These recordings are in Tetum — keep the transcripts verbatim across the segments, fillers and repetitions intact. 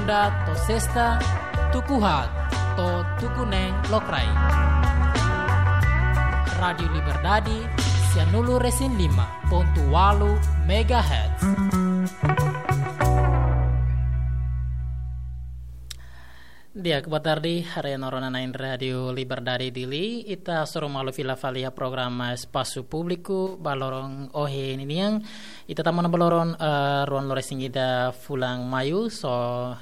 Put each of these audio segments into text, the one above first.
To'o sesta, tuku haat to'o tuku neen lokraik. Rádiu Liberdade, sianulu-resin-lima pontu ualu megahertz. Di'ak, boa tarde, haree no rona na'in Rádiu Liberdade Dili, ita hasoru malu fila fali iha programa Espasu Públiku ba loron ohin ninian. Ita tama ona ba loron, eh, ruanulu-resin-ida fulan Maiu, so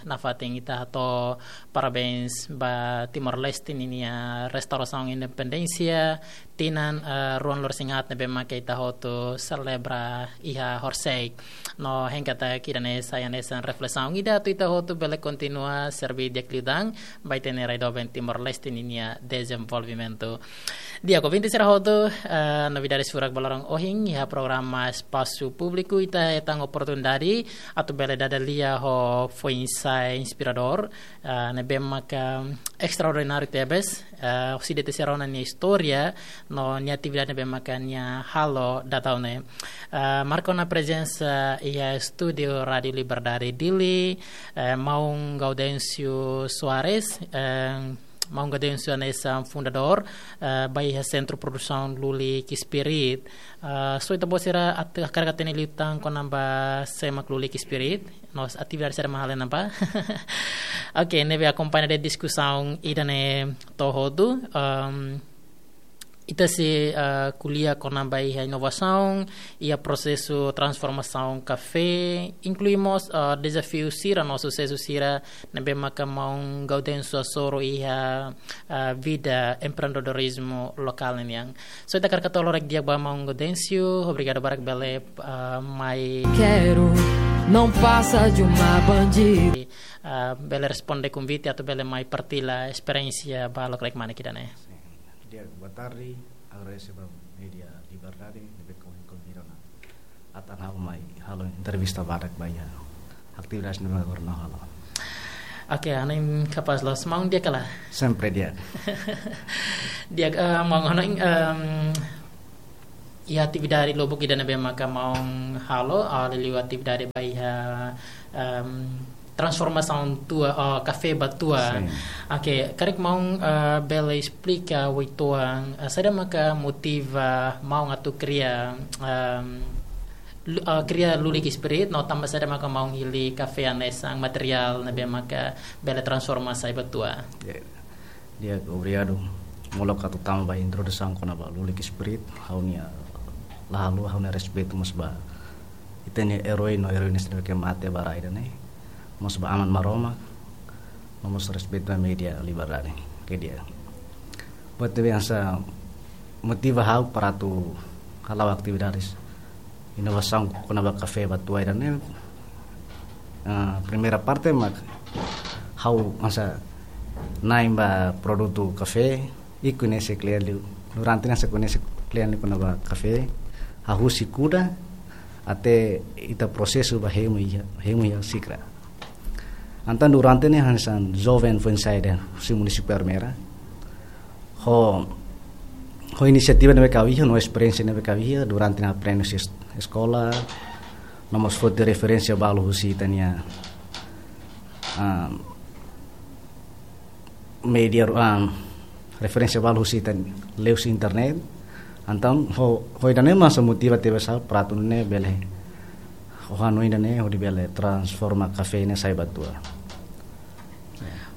nafatin ita hato'o parabéns ba Timor-Leste ninia restaurasaun independénsia, tinan, eh, ruanulu-resin-haat ne'ebé maka ita hotu selebra iha horisehik. No hein katak ida-ne'e sai hanesan reflesaun ida atu ita hotu bele kontinua serbí di'ak liután ba ita-nia rai doben Timor-Leste ninia dezenvolvimentu. Di'ak, ouvinte sira hotu, eh, novidades furak ba loron ohin iha programa Espasu Públiku, ita hetan oportunidade atu bele dada lia ho foin-sa'e inspiradór, eh, ne'ebé maka estraordináriu tebes, eh, husi de'it sira rona nia istória no nia atividade ne'ebé maka nia halo dadaun ne'e. Eh, marka ona prezensa iha estúdiu Rádiu Liberdade Dili, eh, Maun Gaudêncio Soares, eh, Maun Gaudêncio hanesan fundadór, eh, ba iha Sentru Produsaun Lulik Spirit. Eh, so ita-boot sira atu hakarak hatene liután kona-ba sé mak Lulik Spirit, no atividade saida mak halo iha ne'ebá. Oke, ne'ebé akompaña de'it diskusaun ida-ne'e to'o hotu. Ehm, ita sei, eh, ko'alia kona-ba iha inovasaun, iha prosesu transformasaun kafé, inklui mós, eh, dezafiu sira no susesu sira ne'ebé maka Maun Gaudêncio hasoru iha, eh, vida empreendedorizmu lokál ninian. So ita hakarak hato'o lorokraik di'ak ba Maun Gaudêncio, obrigadu barak bele, eh, mai Quero, não passa de uma bandida. Eh, bele responde konvite atu bele mai partilla esperiénsia ba lokraik mane ida-ne'e. Sin. Di'ak, boa tarde. Agradese ba Média Liberdade ne'ebé konvida ona atu ha'u mai halo entrevista badak ba iha atividade ne'ebé agora ha'u halo. Oke, hanoin kapás loos, maun di'ak ka lae? Sempre di'ak. Di'ak, eh, maun, hanoin, em, iha atividade lubuk ida ne'ebé maka maun halo, ah, liuliu atividade ba iha, em, transformasaun tua, ah, kafé ba tua. Sin. Oke, karik maun, ah, bele esplika uitoan, ah, saida maka motiva maun atu kria, em, lu-, ah, kria Lulik Spirit, no tanba saida maka maun hili kafé hanesan materiál ne'ebé maka bele transforma sai ba tua. Ya. Di'ak, obrigadu molok atu tama ba introdusaun kona-ba Lulik Spirit, ha'u-nia, la haluha ha'u-nia respeitu mós ba ita-nia erói no eróina sira ne'ebé mate ba rai ida-ne'e, mós ba Aman Maromak, no mós respeitu ba Média Liberdade. Oke, di'ak. Buat ne'ebé hanesan motiva ha'u para atu hala'o atividades inovasaun kona-ba kafé ba tua ida-ne'e, ah, primeira parte mak ha'u hanesan na'in ba produtu kafé, i koñese kle'an liu. Durante ne'e hanesan koñese kle'an liu kona-ba kafé, hahú husi kuda até ita prosesu ba hemu iha, hemu iha xikra. Entaun durante ne'e hanesan joven foin-sa'e husi munisípiu Ermera. Ho, ho inisiativa ne'ebé ha'u iha, no esperiénsia ne'ebé ha'u iha durante ha'u aprende husi es-, eskola, no mós foti referénsia balu husi ita-nia, ah, média, ah, referénsia balu husi ita-nia liuhusi internet. Entaun ho, ho ida-ne'e mak hanesan motiva tebes ha'u para atu nune'e bele, ho hanoin ida-ne'e hodi bele transforma kafé ne'e sai ba tua.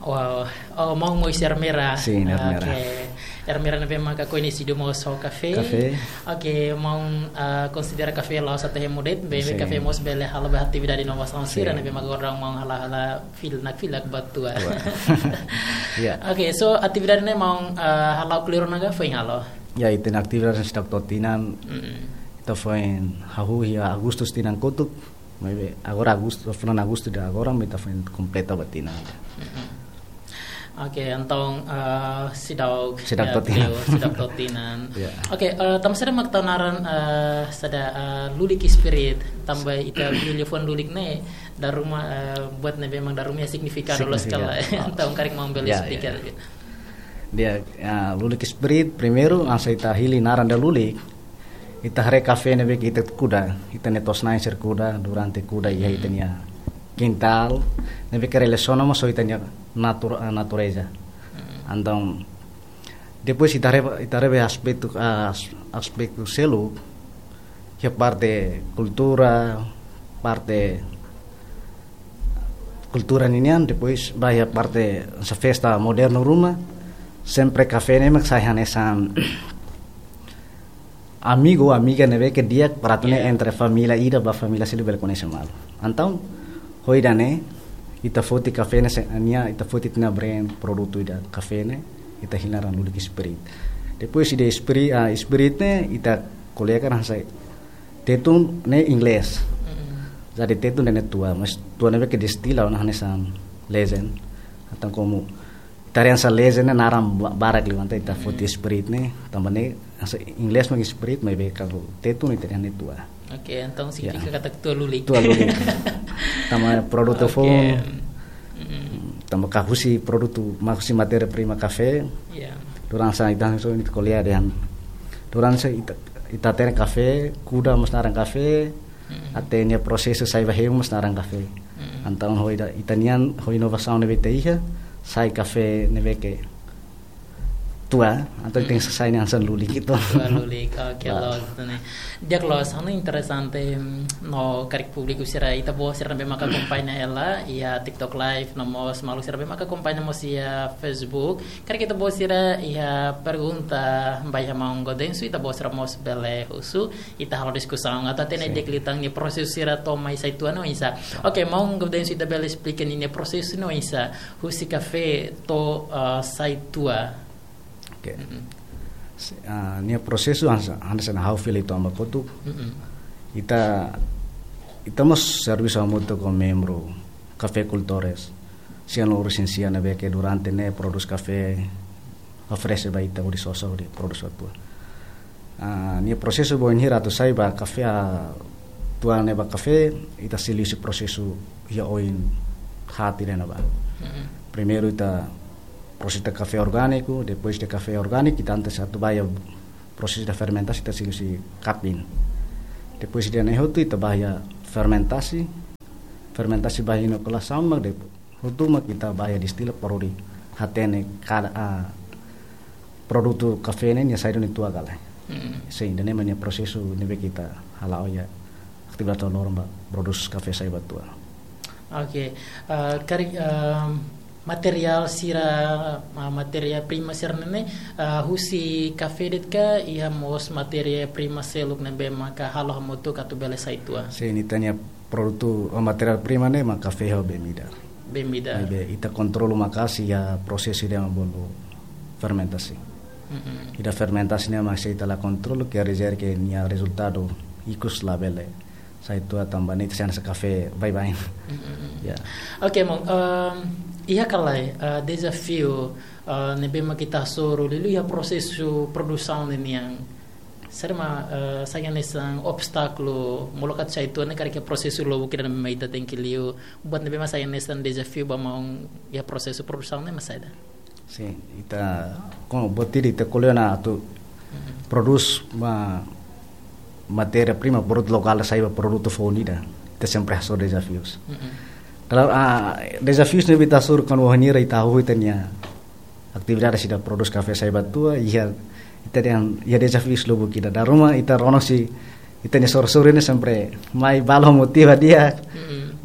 Wow. Oh, maun mós husi Ermera. Sin, Ermera. Oke. Ermera ne'ebé maka koñesidu mós ho kafé. Kafé. Oke, maun, ah, konsidera kafé la'ós atu hemu de'it, be, be Sin. Kafé mós bele halo ba atividade inovasaun sira Sin. Ne'ebé maka agora maun hala'o, hala'o fil-, nakfilak ba tua. Tua. Ya. Oke, so atividade ne'e maun, ah, hala'o kleur ona ka foin halo? Ya, ita-nia atividade seidauk to'o tinan. Mm. Ita foin hahú iha Agustus tinan kotuk. Maibé agora Agustu, fulan Agustu ida agora, mak ita foin kompleta ba tinan ida. Mm-mm. Oke, entaun, eh, seidauk, Seidauk ya, to'o tinan. Beliau seidauk to'o tinan. Ya. Oke, eh, tanba saida mak tau naran, eh, saida, eh, Lulik Spirit, tanba ita bele liafuan lulik ne'e, dala ruma, eh, buat ne'ebé mak dala ruma iha signifikadu loos Signifikadu. Kala. Entaun karik maun bele Ya, ya. Speaker. Di'ak, ya, Lulik Spirit, primeiru, hanesan ita hili naran ida lulik, ita haree kafé ne'ebé ita kuda, ita-nia to'os-na'in sira kuda, durante kuda iha Hmm. ita-nia kintál, ne'ebé ke relasiona mós ho ita-nia natur-, ah, natureza. Entaun, depois ita haree, ita haree ba aspetu, ah, as-, aspetu seluk, iha parte kultura, parte kultura ninian, depois ba iha parte hanesan festa modernu ruma, sempre kafé ne'e mak sai hanesan amigu, amiga ne'ebé ke di'ak para atu nune'e entre família ida ba família seluk bele koñese malu. Entaun, ho ida-ne'e, ita foti kafé ne'e se-, nia, ita foti ita-nia brand produtu ida kafé ne'e, ita hili naran Lulik Spirit. Depois ida Spiri-, ah, Spirit ne'e, ita ko'alia kan hanesan Tetun ne'e inglés. Jadi Tetun ne'e tua, mas tua ne'ebé ke destila ona hanesan legend. Entaun komu ita haree hanesan legend ne'e naran ba-, barak liu, entaun ita foti Spirit ne'e, tanba ne'e hanesan inglés mak Spirit, maibé kalau Tetun ita dehan ne'e tua. Oke, entaun signifika katak tua lulik. Tua lulik. Tanba produtu foun, tanba ka husi produtu, mak husi matéria prima kafé. Durante ita hanesan ita ko'alia dehan, durante ita, ita hatene kafé, kuda mós naran kafé, até nia prosesu sai ba hemu mós naran kafé. Entaun ho ida, ita-nian ho inovasaun ne'ebé ita iha, sai kafé ne'ebé ke tua, entaun tenke sai nia hanesan lulik gitu. Tua lulik, oke, loos, ne'e. Di'ak loos, anu interesante, mm, no karik públiku sira, ita-boot sira ne'ebé maka akompaña hela iha TikTok Live, no mós maluk sira ne'ebé maka akompaña mós iha Facebook. Karik ita-boot sira iha pergunta ba iha maun Gaudencio, ita-boot sira mós bele husu, ita halo diskusaun, atu hatene di'ak liután nia prosesu sira to'o mai sai tua ne'e oinsá. Oke, maun Gaudencio, ita bele esplika ninia prosesu ne'e oinsá, husi kafé to'o, ah, sai tua. Oke. Se-, ah, nia prosesu hanesan, hanesan ha'u fila uitoan ba kotuk. Ita, ita mós servisu hamutuk ho membru kafekultores. Sira no urus sira ne'ebé ke durante ne'e produz kafé, oferese ba ita hodi sosa hodi produz ba tua. Ah, nia prosesu ba oin hira atu sai ba kafé, ah, tua ne'e ba kafé, ita sei liu husi prosesu iha oin haat ida-ne'ebá. Primeiru ita prosesa kafé orgániku, depois de kafé orgániku, ita antes atu ba iha prosesu fermentasi, ita sei liu husi kaping. Depois de ne'e hotu, ita ba iha fermentasi, fermentasi ba iha inokulasaun, mak depois hotu mak ita ba iha destila para hodi hatene kada, ah, produtu kafé ne'e nia saida nia tua ka lae. Sin, ida-ne'e mak nia prosesu ne'ebé ke ita hala'o iha atividade loron ba produz kafé sai ba tua. Oke, ah, karik, ah, materiál sira, ah, matéria prima sira ne'e, ah, husi kafé de'it ka iha mós matéria prima seluk ne'ebé maka halo hamutuk atu bele sai tua? Sin, ita-nia produtu, ah, matéria prima ne'e mak kafé ho bebida. Bebida. Ne'ebé ita kontrola maka'as iha prosesu ida mak bolu fermentasi. Ida fermentasi ne'e mak se ita la kontrola, quer dizer ke nia rezultadu ikus labele sai tua tanba ne'e ita sei hanesan kafé baibain. Ya. Oke, maun, ehm, iha ka lae, eh, dezafiu, eh, ne'ebé mak ita hasoru liuliu iha prosesu produsaun ninian? Saida mak, eh, sai hanesan obstákulu molok atu sai tua ne'e karik iha prosesu lubuk ida ne'ebé mak ita tenke liu, buat ne'ebé mak sai hanesan dezafiu ba maun iha prosesu produsaun ne'e mak saida? Sin, ita, komu buat ida ita ko'alia ona atu produz ma-, matéria prima, produtu lokál sai ba produtu foun ida. Ita sempre hasoru dezafius. Klaru, ah, dezafius ne'ebé ita hasoru kuandu ohin hira ita hahú ita-nia atividade sira produz kafé sai ba tua, iha, ita dehan, iha dezafius lubuk ida. Dala ruma ita rona husi ita-nia soru-soru ne'e sempre mai balu motiva di'ak.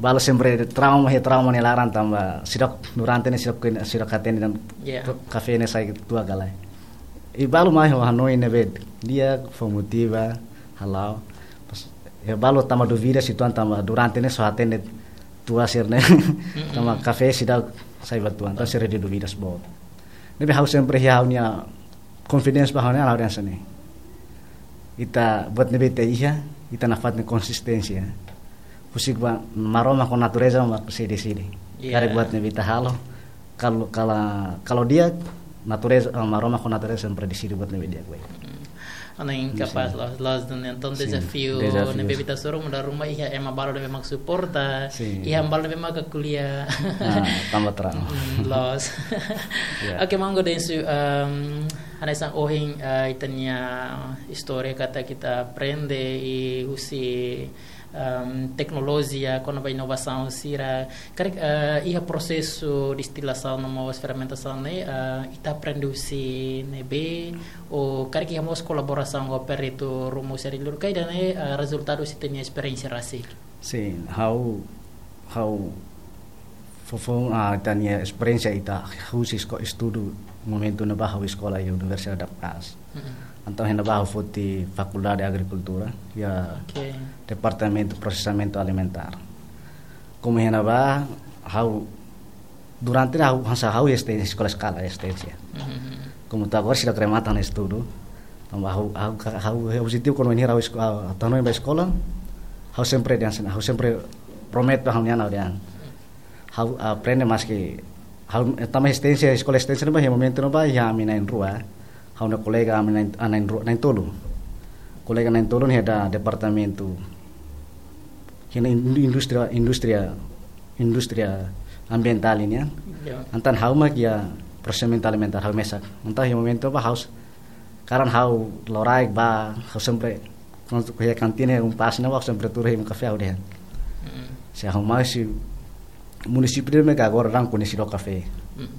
Balu sempre trauma, iha trauma nia laran tanba seidauk durante ne'e seidauk, seidauk hatene dehan kafé ne'e sai tua ka lae. I balu mai ho hanoin ne'ebé di'ak, fó motiva, hala'o. Pas, iha balu tanba dúvida uitoan tanba durante ne'e só hatene tua sira-ne'e. Tanba kafé seidauk sai ba tua, entaun sira iha dúvidas boot. Ne'ebé ha'u sempre iha ha'u-nia confidence ba ha'u-nia, ha'u dehan hanesan ne'e. Ita buat ne'ebé ita iha, ita nafatin konsisténsia. Husik ba Maromak ho natureza mak sei deside. Karik buat ne'ebé ita halo, kalau, kalau, kalau di'ak natureza, eh, Maromak ho natureza sempre deside buat ne'ebé di'ak ba ita. Anu, kapás, loos, loos duni. Entaun dezafiu ne'ebé ita hasoru, dala ruma iha ema balu ne'ebé mak suporta, iha balu ne'ebé mak ko'alia. Ah, tanba trauma. Loos. Oke, maun Gaudencio, ehm, hanesan ohin, eh, ita-nia istória katak ita aprende i husi Ehm, teknolojia, kona-ba inovasaun sira, karik, eh, iha prosesu destilasaun no mós fermentasaun ne'e, eh, ita aprende husi ne'ebé, ou karik iha mós kolaborasaun ho peritu ruma husi área liur ka, ida-ne'e, eh, rezultadu husi ita-nia esperiénsia rasik? Sin, ha'u, ha'u foufoun, ah, ita-nia esperiénsia ita husi esko-, estudu momentu ne'ebá ha'u eskola iha Universidade da Paz. Mm-mm. Entaun iha ne'ebá ha'u foti Fakuldade Agrikultura, iha Oke. Departamentu Prosesamentu Alimentár. Komu iha ne'ebá ha'u durante ne'e ha'u hanesan ha'u iha esténsia, eskola eskala esténsia. Mm-hmm. Komu to'o agora seidauk remata ha'u-nia estudu. Tanba ha'u, ha'u, ha'u, ha'u objetivu kuandu ha'u esko-, ah, atu hanoin ba eskola, ha'u sempre dehan hanesan, ha'u sempre promete ba ha'u-nia an ha'u dehan. Ha'u aprende maski ha'u, eh, tama esténsia, eskola esténsia ne'ebá iha momentu ne'ebá iha ami na'in-rua. Ha'u-nia kolega ami na'in, ah, na'in-rua, na'in-tolu. Kolega na'in-tolu ne'e iha departamentu, iha indú-, indústria, indústria, indústria ambientál nian. Ya. Entaun ha'u mak iha prosesamentu alimentár ha'u mesak. Entaun iha momentu ne'ebá ha'u s-, karik ha'u loraik bá, ha'u sempre, kuandu iha kantina um pas ne'ebá ha'u sempre tuur hemu kafé ha'u dehan. Mm. Se ha'u mai husi munisípiu ne'ebé agora daudaun koñesidu ho kafé. Mm.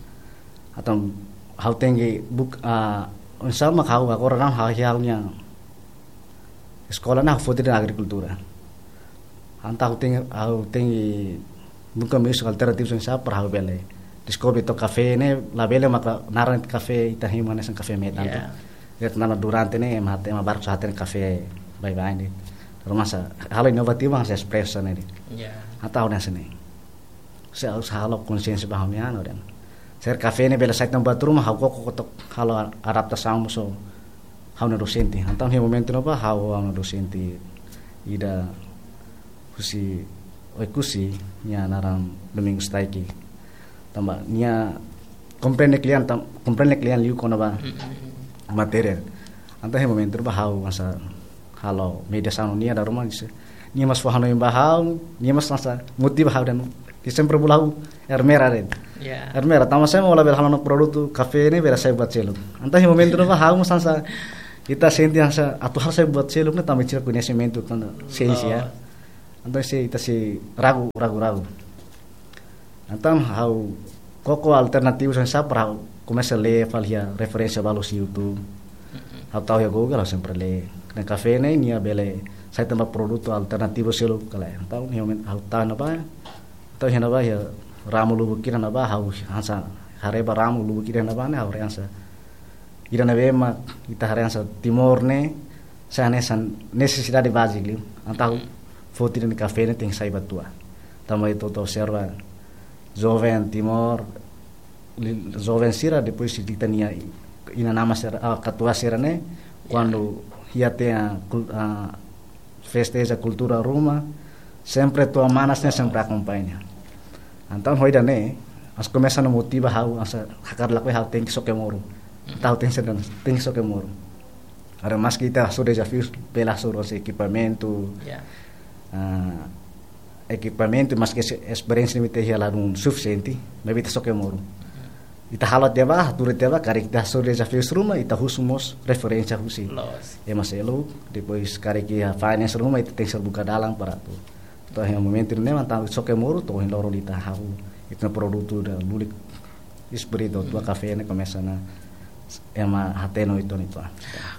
Entaun ha'u tenke buk-, ah, oinsá mak ha'u agora daudaun ha'u iha ha'u-nia eskola ne'e ha'u foti de'it agrikultura. Entaun ha'u tenke, ha'u tenke buka meius alternativas oinsá para ha'u bele deskobre to'ok kafé ne'e, labele maka naran kafé ita hemu hanesan kafé metan Ya. to. De'it tanba durante ne'e ema, ema barak só hatene kafé baibain de'it. Ruma sá, halo inovativu hanesan espresso ne'e de'it. Ya. Entaun ha'u dehan hanesan ne'e. Se ha'u halo konsiénsia ba ha'u-nia an ha'u dehan. Se kafé ne'e bele sai tan buat ruma ha'u koko to'ok halo adaptasaun mós ho ha'u-nia dosente. Entaun iha momentu ne'ebá ha'u ho ha'u-nia dosente ida husi Oekusi, nia naran Domingos Taiki. Tanba nia komprende kle'an, tan-, komprende kle'an liu kona-ba Mm-mm. matéria. Entaun iha momentu ne'ebá ha'u hanesan halo mediasaun ho nia dala ruma, nia mós fó hanoin ba ha'u, nia mós hanesan motiva ha'u dehan, nia sempre bolu ha'u ermera de'it. Ya. Ermera, tanba sá mak ó labele halo ona produtu kafé ne'e bele sai buat seluk. Entaun iha momentu ne'ebá ha'u mós hanesan, ita sente hanesan atu halo sai buat seluk ne'e tanba ita koñesimentu tan siénsia. Oh. Entaun sei, ita sei ragu, ragu, ragu. Entaun ha'u koko alternativas oinsá para ha'u komesa lee fali iha referénsia balu husi YouTube. Mm-mm. Ha'u tau iha Google, ha'u sempre lee. Ne'e kafé ne'e nia bele sai tan ba produtu alternativu seluk ka lae. Entaun iha momentu ha'u tau iha ne'ebá. Entaun iha ne'ebá iha ramu lubuk ida ne'ebá ha'u hanesan haree ba ramu lubuk ida ne'ebá ne'e ha'u haree hanesan ida ne'ebé mak ita haree hanesan Timor ne'e sai hanesan nesesidade báziku liu. Entaun foti de'it kafé ne'e tenke sai ba tua. Tanba ita observa joven Timor, li-, joven sira depois ita-nia inan-aman sira, ah, katuas sira ne'e, kuandu iha tiha kul-, ah, festa iha kultura ruma, sempre tua manas ne'e sempre akompaña. Entaun ho ida-ne'e, hanesan komesa ona motiva ha'u, hanesan hakarak lakohi ha'u tenke soke moru. Entaun tenke soke, tenke soke moru. Agora maski ita hasoru dezafiu, bele hasoru husi ekipamentu, Ya. ah, ekipamentu, maski es-, esperiénsia ne'ebé ita iha ladún sufisiente, maibé ita soke moru. Ita halo tiha ba, hatudu tiha ba, karik ita hasoru dezafiu ruma, ita husu mós referénsia husi Loos. ema seluk, depois karik iha finance ruma, ita tenke buka dalan para atu. To'o iha momentu ne'e, entaun soke moru, to'o iha loron ita hahú, ita-nia produtu ida lulik, espíritu tua kafé ne'e komesa ona ema hatene uitoan uitoan.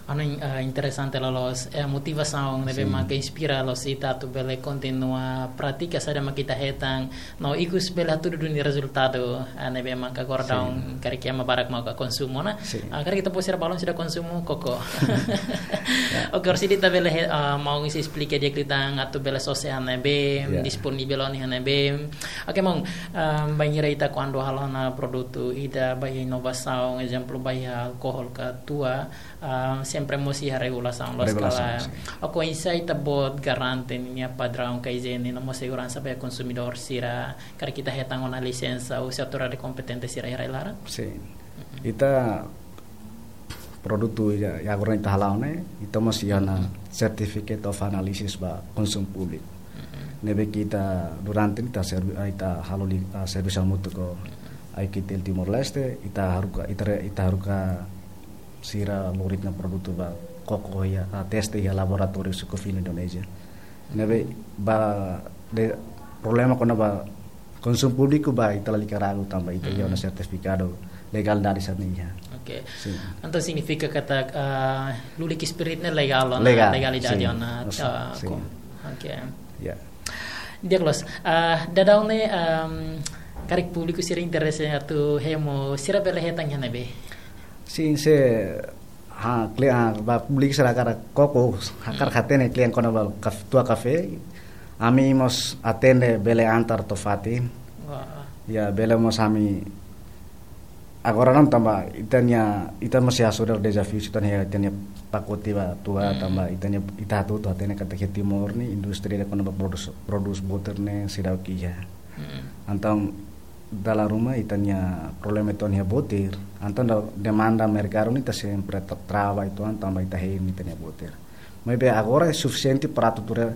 Anu in-, eh, interesante loloos, eh, motivasaun ne'ebé Sin. mak inspira loos ita atu bele kontinua pratika saida mak ita hetan, no ikus bele hatudu duni rezultadu, eh, ne'ebé mak agora Sin. daudaun karik ema barak mak konsumu ona. Sin. Ah, karik ita-boot sira balun seidauk konsumu koko. Ya. Oke, orsida ita bele he-, ah, maun sei esplika di'ak liután atu bele sosa iha ne'ebé, Ya. disponível ona iha ne'ebé. Oke, maun, ah, bainhira ita kuandu halo ona produtu ida ba iha inovasaun, ezemplu ba iha alkohol ka tua, ah, sempre mós iha regulasaun loos Regulasaun, kala. sin. Oke, oinsá ita-boot garante ninia padraun ka ijiene no mós seguransa ba iha konsumidór sira, karik ita hetan ona lisensa husi autoridade kompetente sira iha rai-laran? Sin. Mm-mm. Ita produtu ida, ida agora ita hala'o ne'e, ita mós iha ona Certificate of Analysis ba konsumu públiku. Mm-mm. Ne'ebé ke ita durante ita servi-, ita halo li-, ah, servisu hamutuk ho Mm-mm. I Q T L Timor-Leste, ita haruka, ita re-, ita haruka sira lori ita-nia produtu ba koko iha, ah, teste iha laboratóriu Sukufin Indonézia. Ne'ebé ba de problema kona-ba konsumu públiku ba ita lalika ragu tanba ita iha ona sertifikadu legalidade sira-ne'e iha. Oke. Sin. Entaun signifika katak, ah, Lulik Spirit ne'e legál ona, legál, legalidade sin, ona, sin, ah, sin. Oke. Ya. Di'ak loos, ah, daudaun ne'e, ehm, karik públiku sira interese atu hemu, sira bele hetan iha ne'ebé? Sin, se ha, kle-, ah, ba públiku sira hakarak koko, hakarak hatene kle'an kona-ba kaf-, tua kafé. Ami mós atende bele antar to'o fatin. Wah. Ya, bele mós ami agora ne'e tanba ita-nia, ita mós hasoru dezafiu sira-ne'e, ita-nia pakote ba tua tanba ita-nia, ita atu, atu hatene katak iha Timor ne'e indústria ida kona-ba prodús, prodús botir ne'e seidauk iha. Entaun dala ruma ita-nia problema ita-nia botir, entaun da-, demanda merkadu ne'e ita sempre tra-, trava uitoan tanba ita hein ita-nia botir. Maibé agora é sufisiente para atu tuir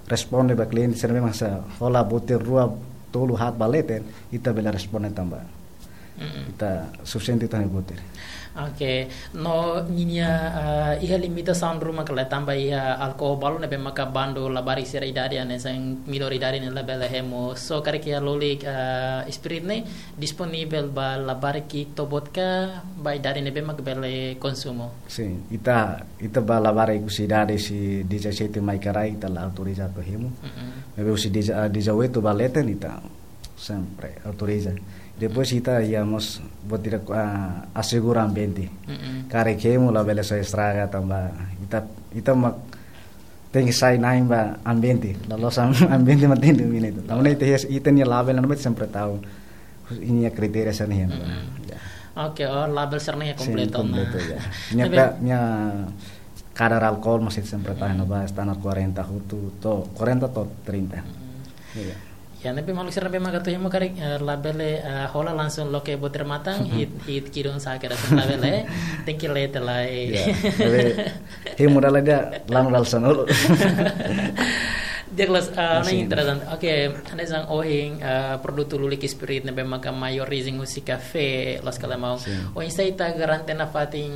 responde ba kliente sira ne'ebé mak sei hola botir rua tolu haat ba leten, ita bele responde tanba ita sufisiente ita-nia botir. Oke, no ninia, ah, iha limitasaun ruma ka lae tanba iha alkol balu ne'ebé maka bandu labarik sira idade hanesan minór idade ne'e labele hemu. So karik iha Lulik, ah, Spirit ne'e disponivel ba labarik ita-boot ka ba idade ne'ebé maka bele konsumu? Sin, ita, ita ba labarik husi idade husi dezassete mai ka rai ita la autoriza atu hemu. Maibé husi deza-, ah, dezoito ba leten ita sempre autoriza. Depois ita iha mós buat ida, ah, asegura ambiente. Karik hemu labele sai estraga tanba ita, ita mak tenke sai na'in ba ambiente. Laloos am-, ambiente mak tenke domina ita. Tanba ne'e ita iha, ita-nia label ne'e mak sempre tau ninia kritéria sira-ne'e. Ya. Oke, oh, label sira-ne'e kompletu, kompletu, ya. Nia pe-, nia kadar alkol mós ita sempre tau iha ne'ebá, standar quarenta hotu, to'o quarenta to'o trinta. Iya. Ya, ne'ebé maluk sira ne'ebé maka atu hemu karik, eh, labele, eh, hola langsung loke botir matan, hit, hit kidun sake da labele, tenke leten lai. Ya, ne'ebé hemu dala ida, lanu dala sanulu. Di'ak loos, eh, ne'e interesante. Oke, hanesan ohin, eh, produtu Lulik Spirit ne'ebé maka maior orijen husi kafé, loos ka lae maun. Sin. Oinsá ita garante nafatin,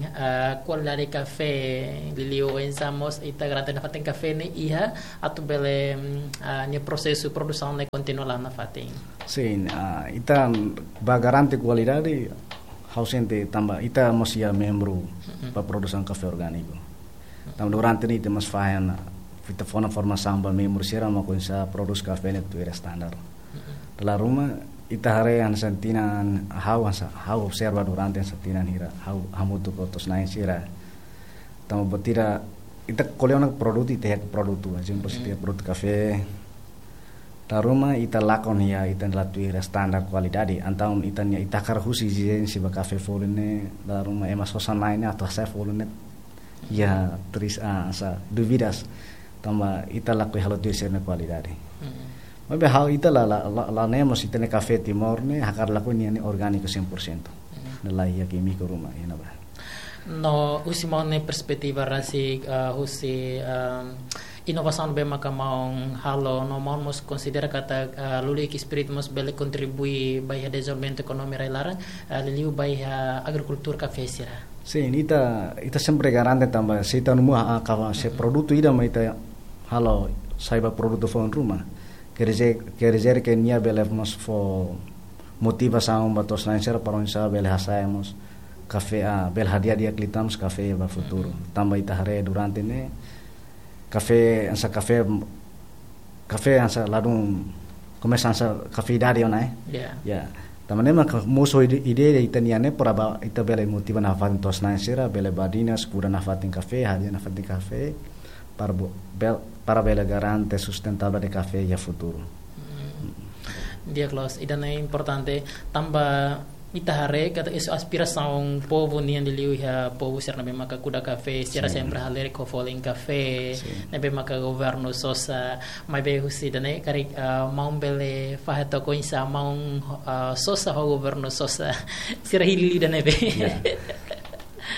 eh, kualidade kafé, liuliu oinsá mós ita garante nafatin kafé ne'e iha atu bele, mm, ah, nia prosesu produsaun ne'e kontinua la'o nafatin. Sin, ah, ita ba garante kualidade, ha'u sente tanba ita mós iha membru ba produsaun kafé orgániku. Tanba durante ne'e ita mós fahe ona, ita fó ona formasaun ba membru sira mak oinsá prodús kafé ne'e tuir standar. Dala ruma ita haree hanesan tinan ha'u hanesan, ha'u observa durante hanesan tinan hira, ha'u hamutuk ho to'os-na'in sira. Tanba buat ida, ita ko'alia ona produtu, ita iha produtu, ezemplu, ita iha produtu kafé. Dala ruma ita lakon iha, ita la tuir standar kualidade. Entaun ita-nia, ita hakarak husu ezijénsia ba kafé folin ne'e, dala ruma ema sosa-na'in ne'e atu hasa'e folin ne'e iha tris, ah, hanesan dúvidas. Tanba ita lakohi halo tuir sira-nia kualidade. Maibé ha'u ita la, la, la, la ne'e mós ita-nia kafé Timor ne'e hakarak lakohi ninia orgániku cem por cento. Ne'e la iha kímiku ruma iha ne'ebá. No husi maun nia perspetiva rasik, eh, husi, ehm, inovasaun ne'ebé maka maun halo, no maun mós konsidera katak, eh, Lulik Spirit mós bele kontribui ba iha dezenvolvimentu ekonomia rai-laran, eh, liuliu ba iha agrikultura kafé sira? Sin, ita, ita sempre garante tanba se ita numa, ah, kafé, se produtu ida mak ita halo sai ba produtu foun ruma. Quer dizer, quer dizer que nia bele mós fó motivasaun ba to'os-na'in sira para oinsá bele hasa'e mós kafé, ah, bele hadi'a di'ak liután mós kafé ba futuru. Tanba ita haree durante ne'e kafé, hanesan kafé, kafé hanesan ladún komesa hanesan kafé idade ona, eh. Ya. Ya. Tanba ne'e mak mosu ide, ide ita-nian ne'e para ba ita bele motiva nafatin to'os-na'in sira, bele badinas, kuda nafatin kafé, hadi'a nafatin kafé, para bo-, bel-, para bele garante sustentavel de kafé iha futuru. Di'ak loos, ida-ne'e importante, tanba ita haree katak iha aspirasaun povu nian liuliu iha povu sira ne'ebé maka kuda kafé, sira sempre halerik ho folin kafé, ne'ebé maka governu sosa, maibé husi ida-ne'e karik, ah, maun bele fahe took oinsá maun, ah, sosa ho governu sosa, sira hili ida-ne'ebé. Ya.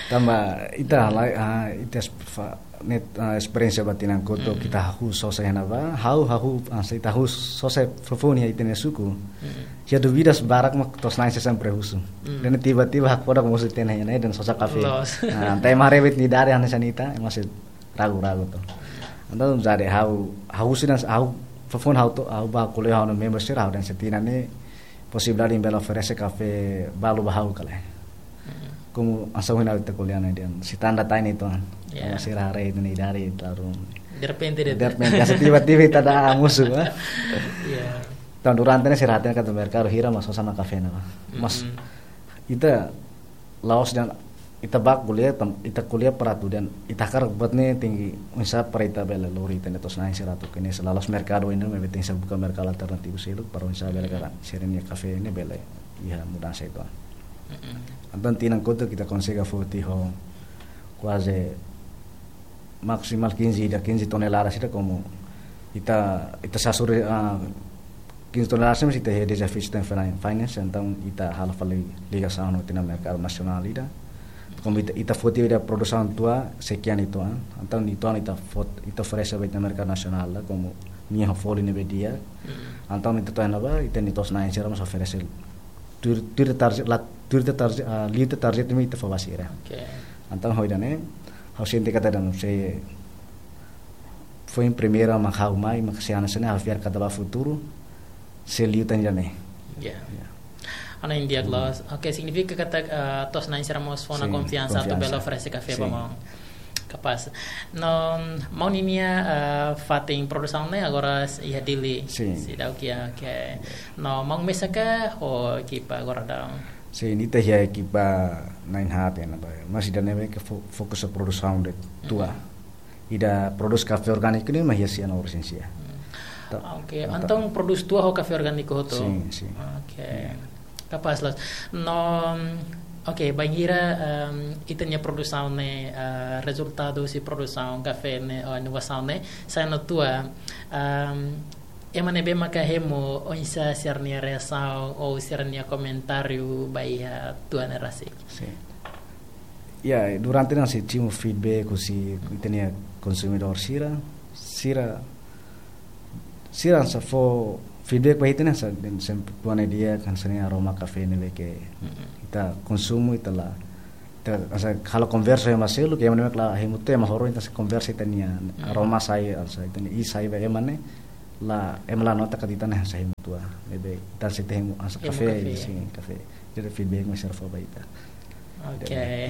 Tanba ita lai, ah, ita es-, fa-, ne'e, ah, esperiénsia ba tinan kotuk ita hahú sosa iha ne'ebá, ha'u hahú, ah, se ita hahú sosa foufoun iha ita-nia suku. Iha dúvidas barak mak to'os-na'in sira sempre husu. Dan tiba-tiba hakfodak mosu tiha ona iha ne'e dan sosa kafé. Loos. Ah, entaun ema haree buat ida hanesan ita, ema sei ragu-ragu to. Entaun jadi ha'u, ha'u husi dehan, ha'u foufoun ha'u to'o, ha'u bá ko'alia ho ha'u-nia membru sira, ha'u dehan se tinan ne'e posibilidade imi bele oferese kafé balu ba ha'u ka lae. Komu hanesan ohin ha'u ita ko'alia ne'e dehan, se ita anda tain itu an. Ya. Sira haree ita-nia idade, lalu derrepente, derrepente, hanesan tiba-tiba ita ida almosu, ah. Ya. Entaun durante ne'e sira hatene katak merkadu hira mak sosa ona kafé ne'e. Mas ita la'ós dehan ita bá ko'alia, ita ko'alia para atu dehan ita hakarak buat ne'e tenke oinsá para ita bele lori ita-nia to'os-na'in sira atu kene, se la'ós merkadu ohin ne'e, maibé tenke buka merkadu alternativu seluk para oinsá bele katak sira-nia kafé ne'e bele iha mudansa uitoan. Entaun tinan kotuk ita konsege foti ho kuaze maksimal quinze ida, quinze toneladas ida, komu ita, ita sasuri, ah, quinze toneladas ne'e ita iha dezafiu sistema finan-, finance, entaun ita halo fali ligasaun ho ita-nia merkadu nasionál ida. Komu ita, ita foti ida produsaun tua, sekian uitoan, entaun uitoan ita fot-, ita oferese ba ita merkadu nasionál la, komu nia ho folin ne'ebé di'ak. Entaun ita to'o iha ne'ebá, ita-nia to'os-na'in sira mós oferese tuir, tuir target, la, tuir target, ah, liu target ne'ebé ita fó ba sira. Oke. Entaun ho ida-ne'e, ha'u sente katak ida-ne'e sei foin primeira mak ha'u mai, mak sei hanesan ne'e, ha'u fiar katak ba futuru sei liu tan ida-ne'e. Ya. Ya. Hanoin di'ak loos. Oke, signifika katak, eh, to'os-na'in sira mós fó ona konfiansa atu bele oferese kafé ba maun. Kapás. No, maun ninia, eh, fatin produsaun ne'e agora iha Dili. Sin. Seidauk iha, oke. No, maun mesak ka ho ekipa agora daudaun? Sin, ita iha ekipa na'in-haat iha ne'ebá. Mas ida-ne'ebé ke fo-, fokus ba produsaun de'it tua. Ida produs kafé orgániku ne'e mak iha sia no resensia. Oke, entaun produs tua ho kafé orgániku hotu? Sin, sin. Oke. Ya. Kapás loos. No, oke, bainhira, em, ita-nia produsaun ne'e, eh, rezultadu husi produsaun kafé ne'e, eh, inovasaun ne'e, sai ona tua, em, ema ne'ebé maka hemu oinsá sira-nia reasaun ou sira-nia komentáriu ba iha tua ne'e rasik? Sin. Ya, durante ne'e sei simu feedback husi ita-nia konsumidór sira, sira, sira hanesan fó feedback ba ita ne'e hanesan dehan sempre tua ne'e di'ak, hanesan ne'e aroma kafé ne'ebé ke ita konsumu, ita la, ita hanesan halo konversa iha ema seluk, ke ema ne'ebé la hemu tua, ema hotu ita sei konversa ita-nia aroma sai, hanesan ita-nia iis sai ba ema ne'e, la, ema la nota katak ita ne'e hanesan hemu tua. Ne'ebé ita sei hemu hanesan kafé, kafé, sin, kafé. Jadi feedback mak sira fó ba ita. Oke.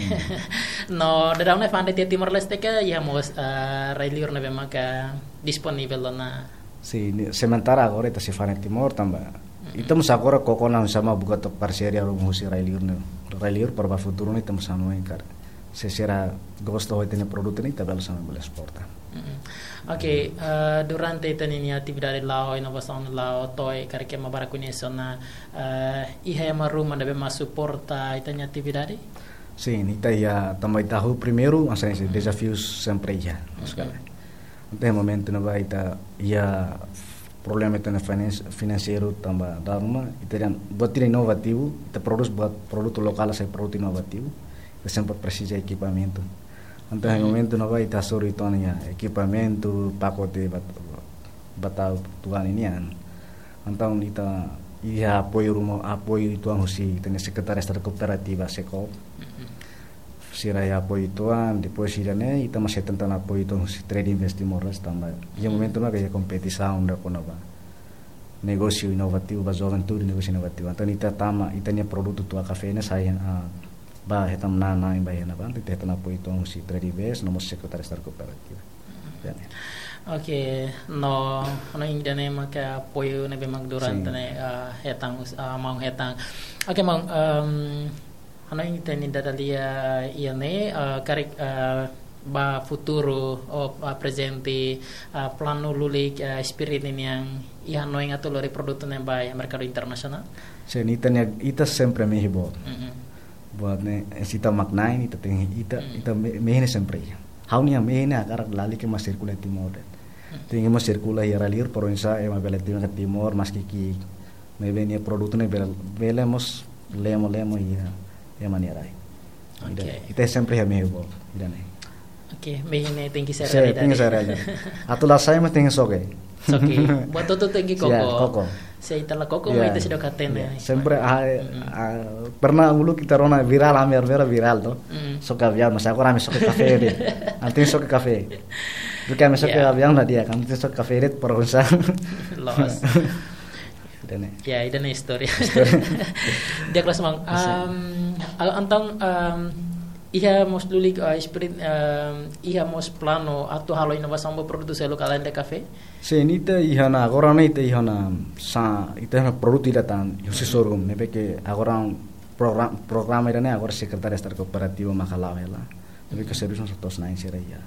No, daudaun ne'e fa'an de'it iha Timor-Leste ka iha mós, eh, rai-liur ne'ebé maka disponivel ona? Sin, ne'e sementara agora ita sei fa'an iha Timor tanba ita mós agora koko ona sama buka tok parseria ruma husi rai-liur ne'e. Rai-liur para ba futuru ne'e ita mós hanoin karik se sira gosta ho ita-nia produtu ne'e ita bele sama bele esporta. Oke, eh, durante ita-nia atividade la'o, inovasaun la'o, to'o karik ema barak koñese ona, eh, iha ema ruma ne'ebé mak suporta ita-nia atividade? Sin, ita iha tanba ita hahú primeiru, hanesan ne'e dezafiu sempre iha, sekali. Entaun momentu ne'ebá ita iha problema ita-nia finans-, finanseiru tanba dala ruma, ita dehan buat ida inovativu, ita produs buat produtu lokál sai produtu inovativu, ita sempre presiza ekipamentu. Entaun momentu ne'ebá ita hasoru uitoan iha ekipamentu, pakote bat-, batau tuan nian. Entaun ita iha apoiu ruma, apoiu uitoan husi ita-nia Sekretaria Estadu Kooperativa, SEKOOP. Sira iha apoiu uitoan, depois ida-ne'e ita mós hetan tan apoiu uitoan husi Trade Invest Timor-Leste tanba iha momentu ne'ebá iha kompetisaun ida kona-ba negósiu inovativu ba juventude, negósiu inovativu. Entaun ita tama, ita-nia produtu tua kafé ne'e sai, ah, ba hetan na'in-na'in ba iha ne'ebá, entaun ita hetan apoiu uitoan husi Trade Invest, no mós Sekretaria Estadu Kooperativa. Ya. Oke, no, no ida-ne'e maka apoiu ne'ebé mak durante ne'e, ah, hetan, ah, maun hetan. Oke, maun, em, hanoin ita-nia dadalia, eh, iha ne'e, eh, karik, eh, ba futuru, ou, eh, prezente, eh, planu lulik, eh, Spirit nian iha hanoin atu lori produtu ne'e ba iha merkadu internasionál? Sin, ita-nia, ita sempre mehi boot. Buat ne'e, eh, se ita mak na'in, ita tenke, ita, ita me-, mehi ne'e sempre iha. Ha'u-nia mehi ne'e hakarak lalika mak sirkula iha Timor de'it. Tenke mak sirkula iha rai-liur, para oinsá ema bele tama iha Timor, maski ki'ik, maibé nia produtu ne'e bele, bele mós lemo-lemo iha ema nia rai. Oke. Ita, ita sempre iha mehi boot, ida-ne'e. Oke, mehi ne'e tenke sai realidade. Tenke sai realidade. Atu la sai mas tenke xoke. Xoke. Buat hotu tenke koko. Koko. Se ita la koko, ya, ita seidauk hatene. Ya. Sempre, ah, ah, pernah uluk ita rona virál, ami-nia virál to. Xoke aviaun, mas agora ami xoke kafé de'it. Ami tenke xoke kafé. Porque ami só ke aviaun la di'ak, ami só ke kafé de'it para usar. Loos. Ida-ne'e. Ya, ida-ne'e istória. Di'ak loos maun. Am, al-, entaun, am, iha mós lulik, ah, espíritu, am, iha mós planu atu halo inovasaun ba produtu seluk além de kafé? Sin, ita iha ona, agora ne'e ita iha ona sa, ita iha ona produtu ida tan, husi sorghum, ne'ebé ke agora programa, programa ida-ne'e agora Sekretáriu Estadu Kooperativa maka la'o hela. Ne'ebé ke servisu sira to'o ona sira iha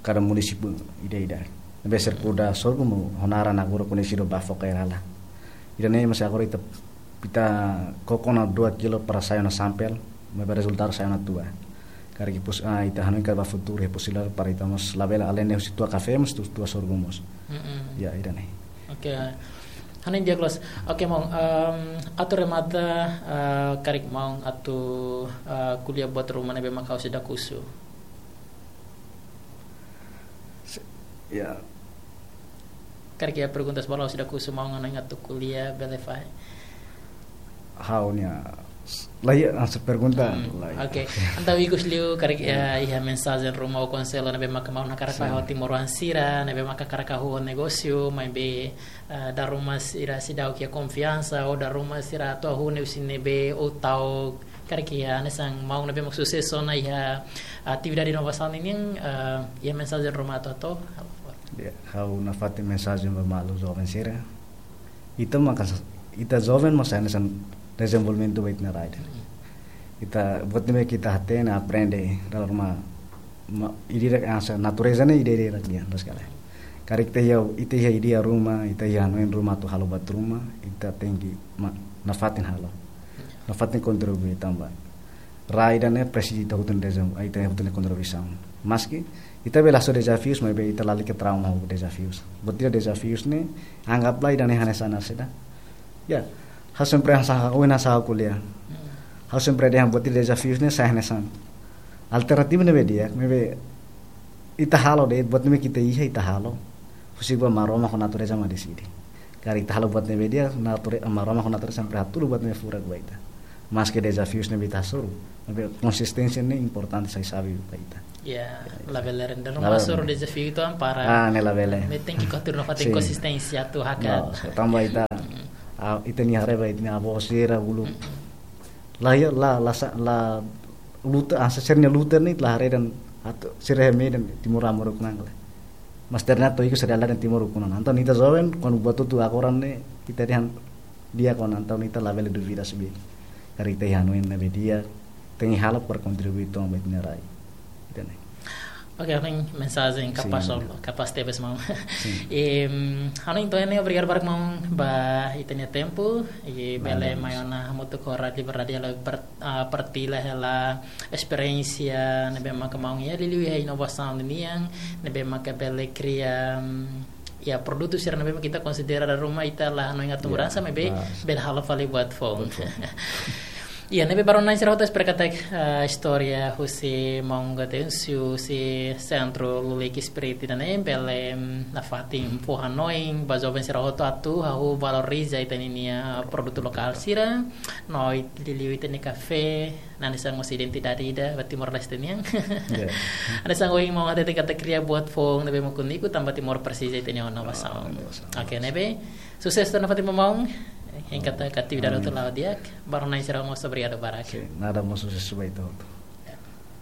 kada munisípiu ida-ida. Ne'ebé sira kuda sorghum ho naran agora koñesidu Bafo Kairala. Ida-ne'e mós agora ita, ita koko ona dua kilo para sai ona sampel, maibé rezultadu sai ona tua. Karik pos-, ah, ita hanoin katak ba futuru iha posibilidade para ita mós labele além de husi tua kafé, mós tua, tua sorghum mós. Mm-mm. Ya, ida-ne'e. Oke. Hanoin di'ak loos. Oke, maun, em, atu remata, eh, karik maun atu, eh, ko'alia buat ruma ne'ebé mak ha'u seidauk husu? Se-, ya. Karik iha perguntas balu seidauk husu, maun hanoin atu ko'alia bele fahe? Ha'u-nia, la iha, hanesan pergunta, hmm, la iha. Oke. Entaun ikus liu karik, ya, iha mensajen ruma ou konsellu ne'ebé maka maun hakarak fahe, sin, ba timoroan sira ne'ebé maka hakarak hahú negósiu, maibé, eh, dala ruma sira seidauk iha konfiansa, ou dala ruma sira atu hahú ne'e husi ne'ebé, ou ta'uk, karik iha hanesan maun ne'ebé mak susesu ona iha atividade inovasaun ninian, eh, iha mensajen ruma atu hato'o? Ya, ha'u nafatin mensajen ba maluk joven sira. Ita maka sa-, ita joven mós hanesan dezenvolvimentu ba ita-nia rai ida. Ita buat ne'ebé ke ita hatene, aprende, dala ruma, ma-, ida-idak hanesan natureza ne'e ida-idak nian, loos ka lae. Karik ita iha, ita iha ideia ruma, ita iha hanoin ruma atu halo buat ruma, ita tenke ma-, nafatin halo. Nafatin kontribui tanba rai ida-ne'e presiza ita hotu nia dezam-, ita hotu nia kontribuisaun. Maski ita bele hasoru dezafius, maibé ita lalika trauma ho dezafius. Buat ida dezafius ne'e, anggaplah ida-ne'e hanesan saida. Ya, ha'u sempre hanesan, ha'u hanesan ko'alia. Ha'u sempre dehan buat ida dezafius ne'e sai hanesan. Alternativa ne'ebé di'ak, maibé ita halo de'it, buat ne'ebé ke ita iha ita halo. Husik ba Maromak ho natureza mak deside. Karik ita halo buat ne'ebé di'ak, nature-, Maromak ho natureza sempre hatudu buat ne'ebé furak ba ita. Maske dezafius ne'ebé ita hasoru, maibé konsisténsia ne'e importante, sai xave ba ita. Ya, ya, ita labele rende. Labele rende. Ruma hasoru dezafiu entaun para. Ah, ne'e labele. Maibé tenke hatudu nafatin, sin, konsisténsia atu hakat. No, tanba ita, ah, ita-nia haree ba ita-nia avó sira uluk. Mm-mm. La iha, la, la sa-, la luta, ah, sira-nia luta ne'e la haree dehan atu sira iha medan timoroan moru kunang le. Mas ternyata ikus sira la dehan timoroan moru kunang. Entaun ita joven, kuandu buat hotu agora ne'e, ita dehan di'ak ona, entaun ita labele duvida saida. Karik ita iha hanoin ne'ebé di'ak, tenke halo para kontribui to'o ba ita-nia rai. Ida-ne'e. Oke, hanoin mensajen kapás, sin, kapás tebes maun. Sin. Em, hanoin entaun ne'e, obrigadu barak maun ba ita-nia tempu, i bele, nada, mai ona hamutuk ho Rádiu Liberdade halo per-, ah, partilla hela esperiénsia ne'ebé maka maun iha, liuliu iha inovasaun nian, ne'ebé maka bele kria, mm, ya, produtu sira ne'ebé maka ita konsidera dala ruma ita la hanoin atu, ya, mudansa, maibé, ah, bele halo fali buat foun. Buat foun. Ya, ne'ebé ba rona-na'in sira hotu, espera katak, ah, istória husi maun Gaudêncio, husi Sentru Lulik Espíritu ida-ne'e bele, mm, nafatin fó hanoin ba joven sira hotu atu hahú valoriza ita-nia produtu lokál sira, no liuliu ita-nia kafé, hanesan mós identidade ida ba Timor-Leste nian. Ya. Hanesan ohin maun hatete katak kria buat foun ne'ebé mak úniku, tanba Timor presiza ita-nia inovasaun. Ah, inovasaun. Oke, ne'ebé susesu nafatin ba maun. Hein katak atividade, amin, hotu la'o di'ak. Ba rona-na'in sira mós obrigadu barak. Sin, nada, mós susesu ba ita hotu.